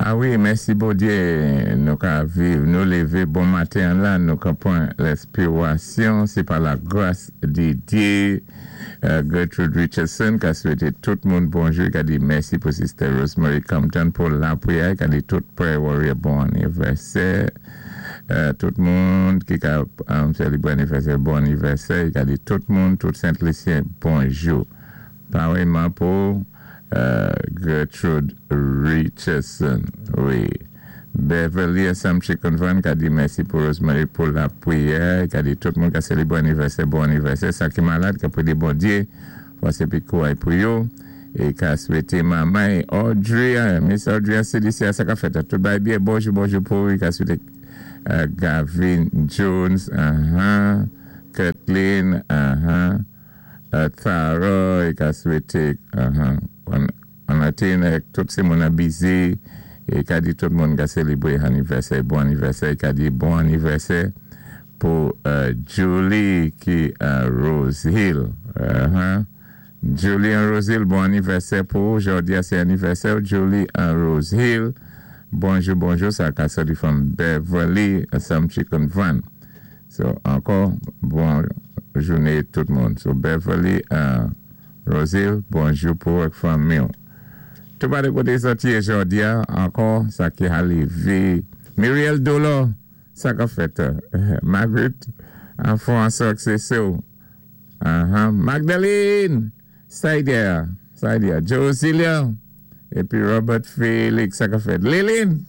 A wi, mèsi Bondyé, nou ka viv, nou lévé bon maten la, nou ka pwan lèspirasyon, sé pa la gras di Dyé. Gertrude Richardson ka swété tout moun bonjou, ka di mèsi pou Sister Rosemary Compton pou lapriyè, ka di tout prayer warrior bon anivèsè. Tout moun ki ka sélébwé anivèsè, bon anivèsè, ka di tout moun, tout Sent Lisyen, bonjou. Parèyman pou Gertrude Richardson, wi. Beverly Assumption Convent ka di mèsi pou Rosemary pou lapriyè, ka di tout moun ka sélébwé anivèsè, bon anivèsè, sa ki malad, ka pwidé Bondyé, fòs épi kouray pou yo, é ka swété manman Audrey, Miss Audrey CDC, sa ka fèt, tout bay byen, bonjou, bonjou pou, ka swété Gavin Jones, Kathleen, Tara, ka swété, Anatin, tout sé moun busy, é ka di tout moun ka sélébwé anivèsè, bon anivèsè, ka di bon anivèsè pou Julie ki Rose Hill. Julie an Rose Hill, bon anivèsè pou jòdi a, sé anivèsè Julie an Rose Hill. Bonjou, bonjou, sa ka soti from Beverly, Assumption Convent. So, ankò, bon jounen tout moun. So, Beverly Rose Hill, bonjou pou ak fanmi. Tout pa de koté soti jòdi a, ankò, sa ki a lévé. Muriel Dolo, sa ka fèt. Margaret, an success. Magdalene, Saidia, Saidia, Josilia, épi Robert Felix, sa ka fèt. Lilin,